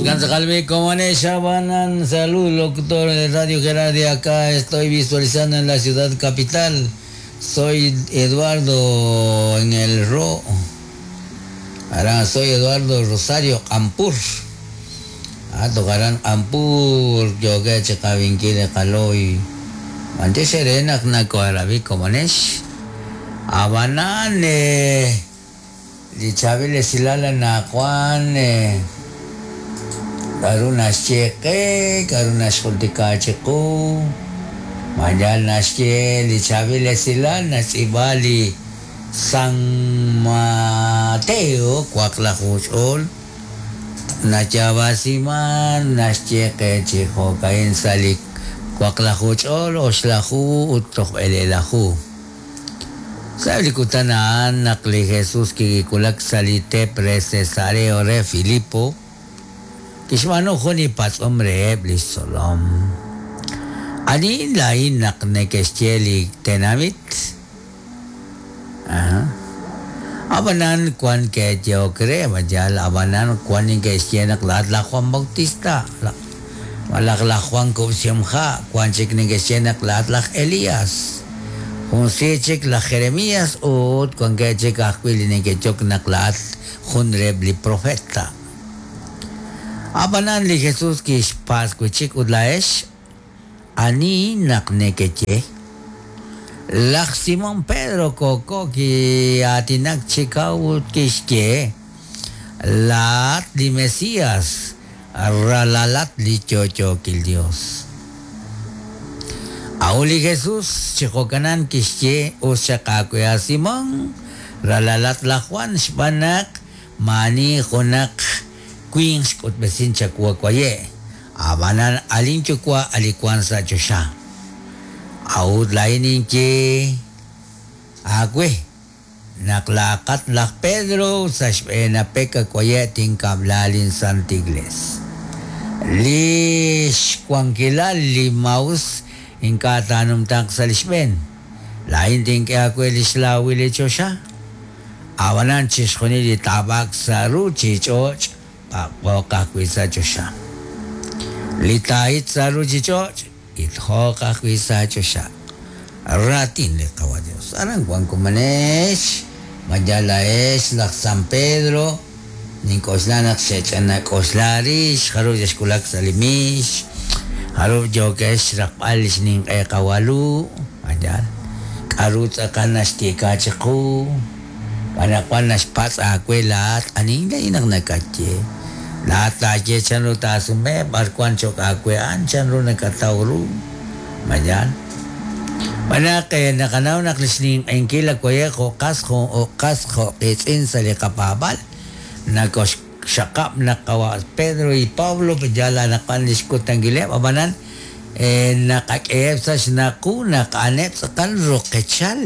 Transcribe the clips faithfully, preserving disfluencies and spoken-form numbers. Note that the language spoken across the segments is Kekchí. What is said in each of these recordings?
Okanza como salud, locutor de Radio Gerardi, acá estoy visualizando en la ciudad capital. Soy Eduardo en el Ro. Ahora soy Eduardo Rosario Ampur. Ah, tocarán Ampur, yo que checavinquile caloy. Antes serena nako arabi como nesh. Abanane. Lichabile silala na Juan. Karuna xcheqe, karuna xjultikachiqu, mayal naxye lichabile silal natz'ibali San Mateo kuaqlajuch'ol nachabasiman naxcheqe chijokain sali kuaqlajuch'ol oxlaju uttojb'elelaju. Sablikutanaan naqli Jesús kikulak salite pre Cesareo re Filipo. Kixmano juni patz'om reheb' li xtzolom. Ani lain naq neke'xye li tenamit. Aha. Abanan kwan ke'yehok re mayal abanan kwan neke'xye naq laat laj Juan Bautista. Malaj laj Juan Kub'simja kwan chik neke'xye naq laat laj Elías. Jun si chik laj Jeremías ut kwan ke'chik ajwi' li neke'yok naq laat jun reheb' li profeta. Abanan li Jesús kixpaskuchik ut laex ani naq nekeche laj Simón Pedro koko ki atinak chikaw ut kixye laat li Mesías ralalat li chochokil Dios. Aun li Jesús chikokanan kixye uxaqakuya Simón ralalat la Juan xbanak mani jonak Queen xk'utb'esin chakuakuaye abanan alin chukua alikuan sa chosha aud lainin ki agwe naklaqat laj Pedro sa xb'een peka kuaye tinkablalin Santa Igles li xkuankilal li maus inkatanum tak sa lixb'een lain tink'e akwe li xlawi li chosha abanan chixjunil li tabak sa ru chich'och Paqoq ajwi' choxa. Li taahit sa ruchich'och' itjoq ajwi' sa choxa. Ratin li qawa Dios. Aran wan kumanex, mayalaex laj San Pedro, nink'oxla naq xech'anak'oxlarix, jaru yaxkulak sa li mix, jaru yokex raqb'al lix nink'e qawalu, mayal. K'aru tz'aqal naxtiika chiqu, anaqwan naxpatz' aawe laat anin lainaq nakatye. Laat taaye chanru taasume b'arwan chok aawe an chanru nakatawru mayal. Banaq naqanaw naq lix ninq'enkil akuaye jo'qas jo'qas jo'qitz'in sa li qapaab'al nakoxxaqab' naq qawa Pedro y Pablo yala naqan lix kutankileb' abanan naqak'eheb' sa xnaqu naq'aneb' tz'aqal roqechal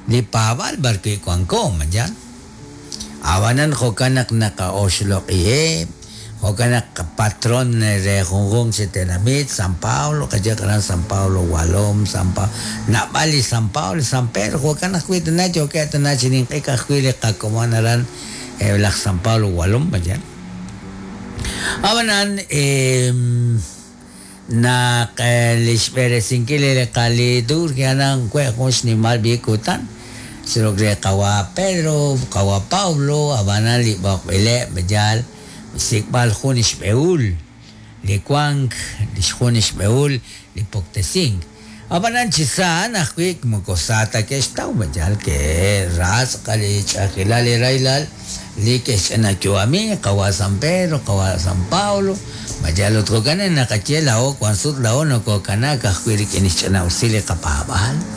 li paab'al barki wanko mayal. Abanan jo'kan naq naqaoxloq'iheb' jo'kan naq patron re junjunq chi tenamit San Pablo qayaqaran San Pablo Walom San Pablo nab'al li San Pablo San Pedro jo'kan ajwi' tana yookeb' tana chi ninq'ik ajwi' li qakomon aran laj San Pablo Walom mayal. Abanan naq li xb'eresinkil li qaliturgia nan kwe jun xnimal b'ikutan Sirogre kawa Pedro, kawa Pablo, abanan li b'oqb'ileb' mayal sikb'al jun ixb'eul li wank li xjun ixb'eul li poktesink. Abanan chisaan ajwi' moko sa ta ke'xtaw mayal ke ras qali ch'ajilal li raylal li ke'xch'anayu'ami kawa San Pedro, kawa San Pablo mayal ut jo'kan naqaye lao wan sut lao nokokanak ajwi' rik'in ixch'anawsil li qapaab'al.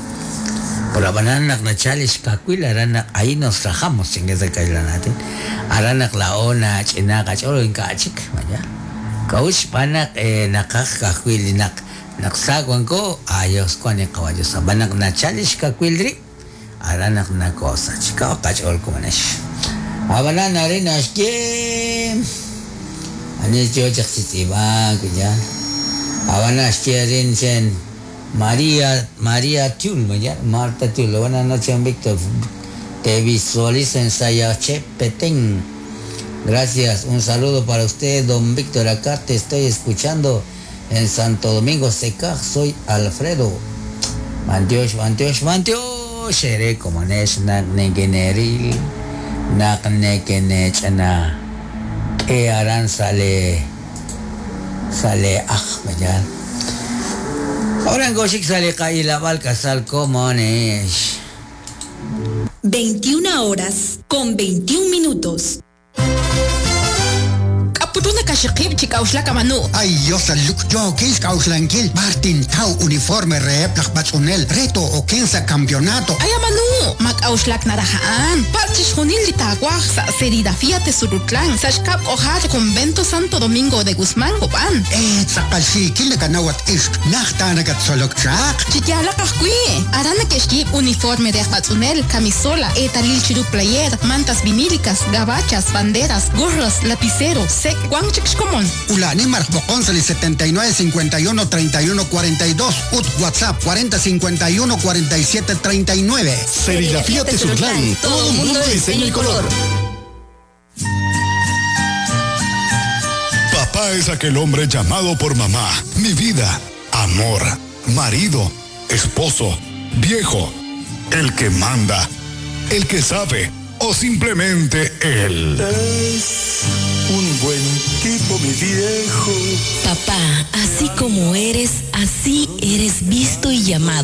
Por abanan naq nachal ixkakwil aran naq ahí nos rajamos chingues kailanate aran naq lao na ch'ina qach'ol ink'achik maya k'awux b'anaq naqaj kajwil naq naq sa wanko ayos kuan qawayo sabanaq nachal ixkakwil ri aran naq nakosach ka qach'ol kumanex abanan arin axye ani yo chaqchitz'ib'ak ya abanan axye rin chen María, María Tiul, Marta Tiul, buenas noches, Víctor. Te visualizo en Sayache, Petén. Gracias, un saludo para usted, don Víctor. Acá te estoy escuchando en Santo Domingo Secaj. Soy Alfredo. Mantiox, mantiox, mantiox. Ere komonex naq nekeneril naq nekenech'ana k'e aran sale sale aj mañana. Ahora en Goshik sale Kailabal Casal Comonex. veintiuna horas con veintiún minutos. Putuna kashiqib chik'awxlak amanu. Ay, Dios, luk yo kis k'awxlankil Martin Tau uniforme reheb laj b'atz'unel reto okensa campeonato. Ay amanu, mak'awxlak naraja'an. Parchix junil li taawaj sa serigrafía Tesurutlan, sa xkab k'ojar Convento Santo Domingo de Guzmán Copán. Eh, tz'aqal xiikil nakanawat ixq najta nakatzolok chaq. Chiyalaq ajwi', aran nakexkib uniforme de b'atz'unel, camisola, etalil chiru player, mantas vinílicas, gabachas, banderas, gorros, lapicero, sec, guanchik xkomon. Ulani marjboqon sali setenta y nueve cincuenta y uno treinta y uno cuarenta y dos, ut WhatsApp cuarenta cincuenta y uno cuarenta y siete treinta y nueve. Serigrafía Tesurtlán, todo mundo de diseño y color. Papá es aquel hombre llamado por mamá, mi vida, amor, marido, esposo, viejo, el que manda, el que sabe o simplemente él. Es un buen tipo, mi viejo. Papá, así como eres, así eres visto y llamado.